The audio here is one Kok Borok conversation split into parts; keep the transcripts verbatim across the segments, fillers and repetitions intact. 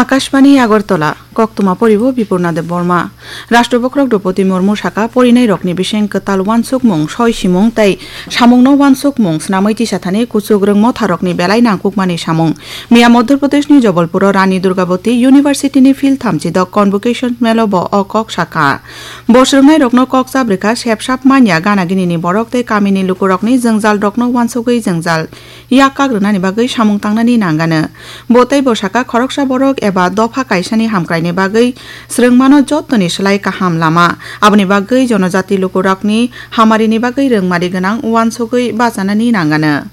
Akashbani Agartala, koktwma poribo Bipurna Debbarma. Rashtra Bokrok Droupadi Murmu saka porinai rokni bising kwtal uansukmung, soi simung tei samungno uansukmung swnamwi tisathani kuchuk rwngmotha rokni belai nangkukmani samung. Miya Madhya Pradeshni Jabalpuro Rani Durgavati Universityni field thamchi dok Convocation Melo bo o kok saka. Bo swrwngnairokno kok chabrikha, sep sap manya gana ginini borok tei kamini lukurokni jwngjalrokno uansugwi jwngjal yak kak rwnani bagwi samung tangnani nangano. Bo tei bo saka khoroksa borok eba dopha kaisani hamkraini bagwi swrwngmano jottoni slai kaham lama. Aboni bagwi jonojati lukurokni hamarini bagwi rwngmari gwnang uansugwi bachanani nangano.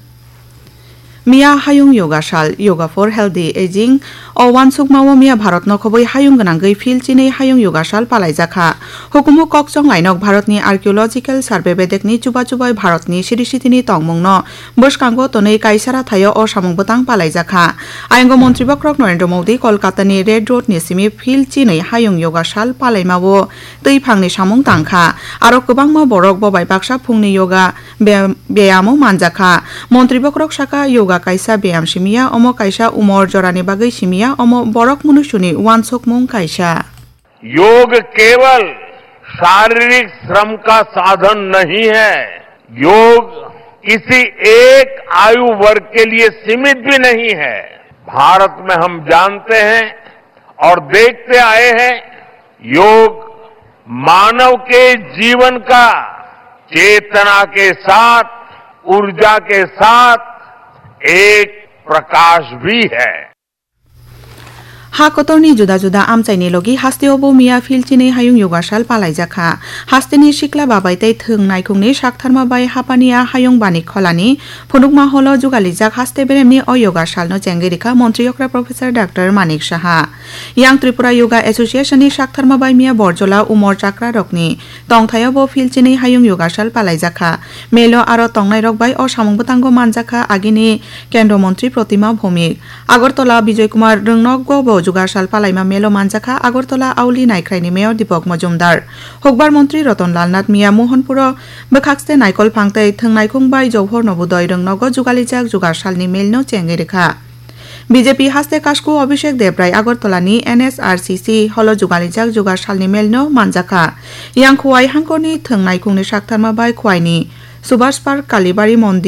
Miya Hayung Yoga Sal, Yoga for Healthy Aging, o uansukmao miya Bharatno khobwi hayung gwnangwi phil chinwi Hayung Yoga Sal palaijakha. Hukumu kok chonglainok Bharatni Archaeological Survey bedekni chuba chubai Bharatni siri sitini tongmungno bwskango tonwi kaisa rathaio o samung bwtang palaijakha. Ayongo Montri Bokrok Narendra Modi Kolkatani Red Roadni simi phil chinwi Hayung Yoga Sal palaimao twi phangni samung tangkha. Aro kwbangma borok bo bai baksa phungni yoga be-, beyamo manjakha. Montri Bokrok saka, yoga kaisa beyam simiya, omo kaisa umor jorani bagwi simiya, omo borok munusuni uansukmung kaisa. योग केवल शारीरिक श्रम का साधन नहीं है। योग किसी एक आयु वर्ग के लिए सीमित भी नहीं है। भारत में हम जानते हैं और देखते आए हैं, योग मानव के जीवन का चेतना के साथ, ऊर्जा के साथ एक प्रकाश भी है। Ha kotorni juda juda amchaini logi hasteo bo miya phil chinwi Hayung Yoga Sal palaijakha. Hasteni sikla babai tei thwng naikhungni saktharma bai hapani a hayung bani kholani phunukma holo jugalijak haste beremni o yoga salno chengwi rikha Montri Okra Professor Doctor Manik Saha. Yang Tripura Yoga Association ni saktharma bai miya Borjola Umor Chakra rokni tongthaio bo phil chinwi Hayung Yoga Sal palaijakha. Melo aro tongnairok bai o samung bwtango manjakha agini Kendra Montri Protima Bhowmik. Agartala Bijoy Kumar Rwngnokgo bo Yoga Sal palaima melo manjakha Agartala Auli Naikhraini Mayor Deepak Majumdar. Hukbar Montri Ratan Lal Nath miya Mohanpuro bwkhakste naikol phang tei thwng naikhung bai Johor Nobodoi Rwngnogo jugalijak Yoga Salni melno chengwi rikha. B J P haste kasku Abhishek Debrai Agartala ni N S R C C holo jugalijak Yoga Salni melno manjakha. Yang Khowai hangkorni thwng naikhungni saktharma bai Khowaini Subhash Park Kalibari Mondir